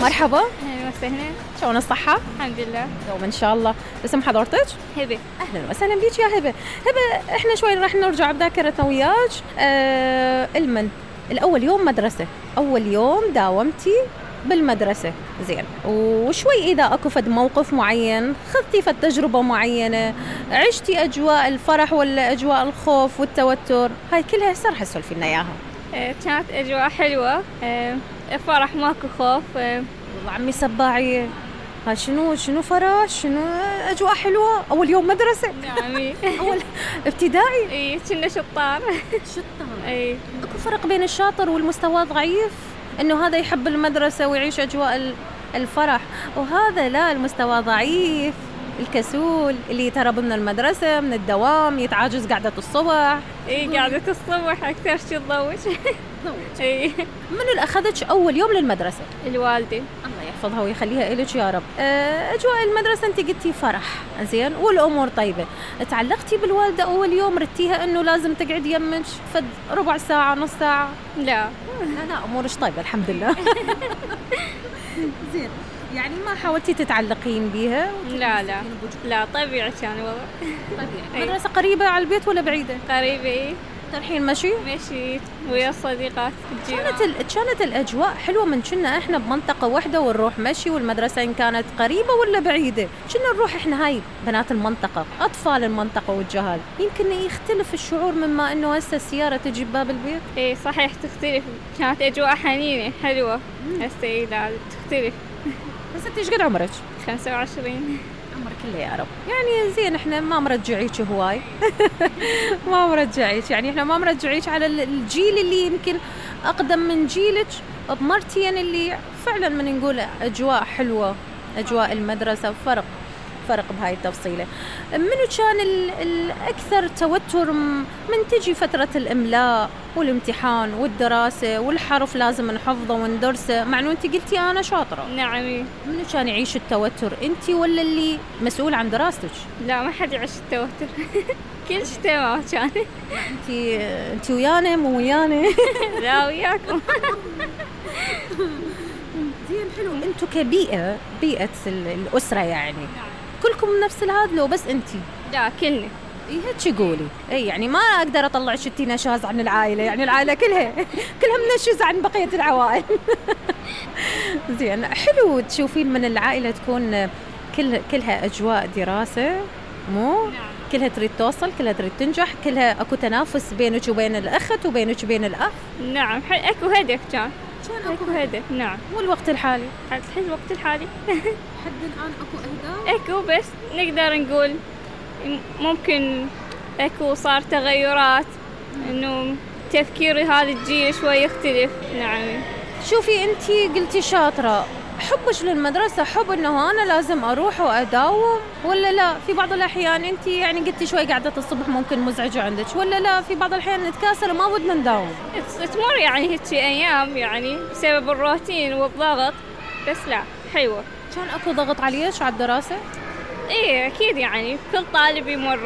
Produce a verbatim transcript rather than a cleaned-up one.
مرحبا. اهلا وسهلا. شلون الصحة؟ الحمد لله. دوما ان شاء الله. اسم حضرتك؟ هبة. اهلا وسهلا بيك يا هبة. هبة احنا شوي راح نرجع بذاكرتنا وياك. آه المن الاول يوم مدرسة، اول يوم داومتي بالمدرسة، زين، وشوي إذا أكو فد موقف معين خذتي فد تجربة معينة، عشتي أجواء الفرح ولا أجواء الخوف والتوتر، هاي كلها هسه راح تسولفي لنا إياها. آه كانت أجواء حلوة، آه فرح ماكو خوف. آه والله عمي سباعية، ها شنو شنو فرح، شنو أجواء حلوة، أول يوم مدرسة. نعم. أول ابتدائي. إيه كنا شطار. شطار. إيه. أكو فرق بين الشاطر والمستوى ضعيف، إنه هذا يحب المدرسة ويعيش أجواء الفرح، وهذا لا، المستوى ضعيف، الكسول اللي يتهرب من المدرسة من الدوام، يتعاجز قعدة الصبح. إيه قعدة الصبح أكثر شي تضوج. إيه. منو اللي أخذتش أول يوم للمدرسة؟ الوالدة. الله يحفظها ويخليها إلك يا رب. أجواء المدرسة أنت قلتي فرح، زين، والأمور طيبة. تعلقتي بالوالدة أول يوم، ردتيها إنه لازم تقعد يمك فد ربع ساعة نص ساعة؟ لا لا لا، أمورش طيبة الحمد لله. زين، يعني ما حاولتي تتعلقين بيها؟ لا لا لا، طبيعي كان والله. طبيعي. المدرسة قريبة على البيت ولا بعيدة؟ قريبة. إيه. ترحين مشي؟ مشيت ويا الصديقات. كانت ال... كانت الأجواء حلوة من كنا إحنا بمنطقة واحدة ونروح مشي، والمدرسة إن كانت قريبة ولا بعيدة كنا نروح إحنا، هاي بنات المنطقة، أطفال المنطقة والجهال، يمكن يختلف الشعور مما إنه هسه السيارة تجي بباب البيت. إيه صحيح تختلف، كانت أجواء حنينة حلوة. هسه إيه لا تختلف. هسه إنتي إيش قد عمرك؟ خمسة وعشرين. عمرك كله يا رب. يعني زين، احنا ما مرجعيك هواي. ما مرجعيك، يعني احنا ما مرجعيك على الجيل اللي يمكن اقدم من جيلك بمرتين، اللي فعلا من نقول اجواء حلوة، اجواء المدرسة فرق فرق بهاي التفصيلة. منو كان الأكثر توتر من تجي فترة الإملاء والامتحان والدراسة والحرف لازم نحفظه وندرسه، مع أنه أنت قلتي أنا شاطرة؟ نعم. منو كان يعيش التوتر، أنت ولا اللي مسؤول عن دراستك؟ لا ما حد يعيش التوتر. كل شيء تمام كان. أنت أنت ويانا مو ويانا؟ لا وياكم. زين حلو. أنتوا كبيئة، بيئة الأسرة يعني كلكم نفس الهذا لو بس أنتي؟ لا كلنا. إيه هيك قولي. إيه يعني ما أقدر أطلع شتي نشاز عن العائلة، يعني العائلة كلها كلها منشزة عن بقية العوائل. زين حلو تشوفين من العائلة تكون كل كلها أجواء دراسة، مو؟ نعم. كلها تريد توصل، كلها تريد تنجح، كلها أكو تنافس بينك وبين الأخت وبينك وبين الأخ. نعم أكو هدف كان. كان أكو هدف. نعم. والوقت الحالي؟ الحين الوقت الحالي. حد الآن أكو أهداف؟ أكو، بس نقدر نقول ممكن أكو صار تغيرات، إنه تفكير هذا الجيل شوي يختلف. نعم. شوفي أنتي قلتي شاطرة، حبش للمدرسة حب إنه أنا لازم أروح وأداوم، ولا لا في بعض الأحيان أنتي يعني قلتي شوي قعدة الصبح ممكن مزعجة عندك، ولا لا في بعض الأحيان نتكاسل وما بدنا نداوم؟ تمر يعني هيك أيام يعني بسبب الروتين والضغط، بس لا حلوة. كان أكو ضغط عليك على الدراسة؟ إيه أكيد، يعني كل طالب يمر